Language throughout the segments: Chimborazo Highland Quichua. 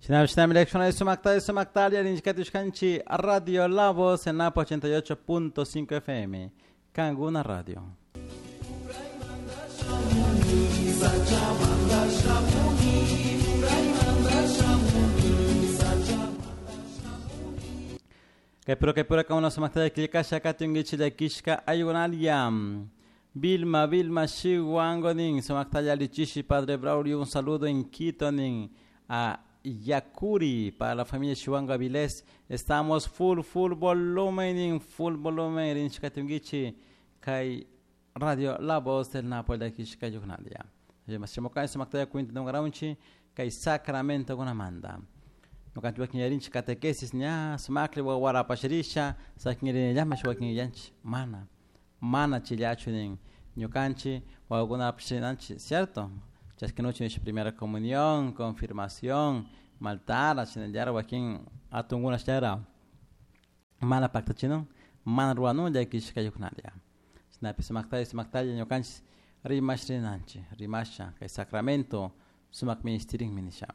Shinami Sumaktalia Radio La Voz en Napo 88.5 FM. Canguna Radio. Kay pura kauna sumaktalia killkasha katungichi llakishka ayunalia. Vilma, Vilma, Chihuango nin, sumaktalia lichishi, Padre Braulio, un saludo en Quito nin, a Yacuri, para la familia Chihuango Avilés. Estamos full, full volumen, full volumen, rinchikatungichi, kay Radio La Voz del Napoli llakishka ayunalia. Sumaktalia cuenta nungaраunchi, kay Sacramento gunamanda. Ñukanchik wakin yarinchik catequesis ña sumakli warapashirisha sakinrinillama wakin yanchik mana mana chillachu nin ñukanchik wawakunapashirinanchik cierto chashkinuchi nisha primera comunión confirmación maltara shinallara wakin atunkuna shinallara mana paktachinun mana ruwanun llakishka yuknalla shinapish sumaktalla sumaktalla ñukanchik rimashirinanchik rimasha kay sacramento sumak ministerinmi nisha.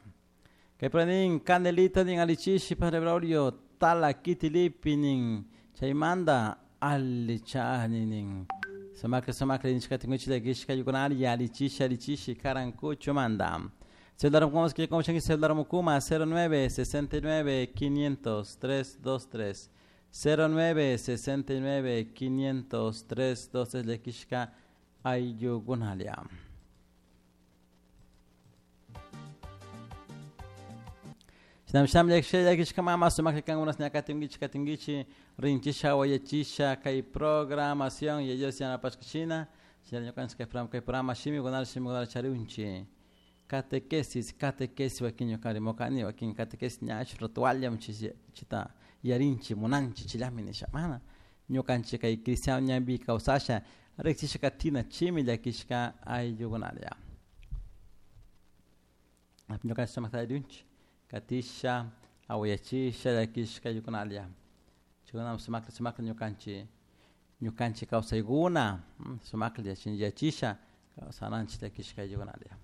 Kay nin canelita nin alichishi Padre Braulio tala kitilipi nin chaymanta allichani nin sumakli sumakli nishkatinguchi llakishka yukunari alichishi alichishi karankuchu manda. Celular como que celular mukuma 09 69 500 323 09 69 500 323 llakishka ayllukunalia. Shinam sham llakishka mama sumakli kankunas ña katinkichi katinkichi rinchisha wayachisha kay programación y ellos yanapashkashina shina ñukanchik kay programa kay programa shimikunata shimikunata chariunchik catequesis catequesis wakin ñuka rimukani wakin catequesis ña rituallam chita yarinchik munanchik chillami nisha mana ñukanchik kay cristiano ñampi kawsasha riksisha katina chimi llakishka ayllukunalla. Ñukanchik sumakta yariunchik katisha awayachisha llakishka ayllukunalla chaykunami sumakta sumakta ñukanchik ñukanchik kawsaykuna sumaklla yachisha kawsananchik llakishka ayllukunalla.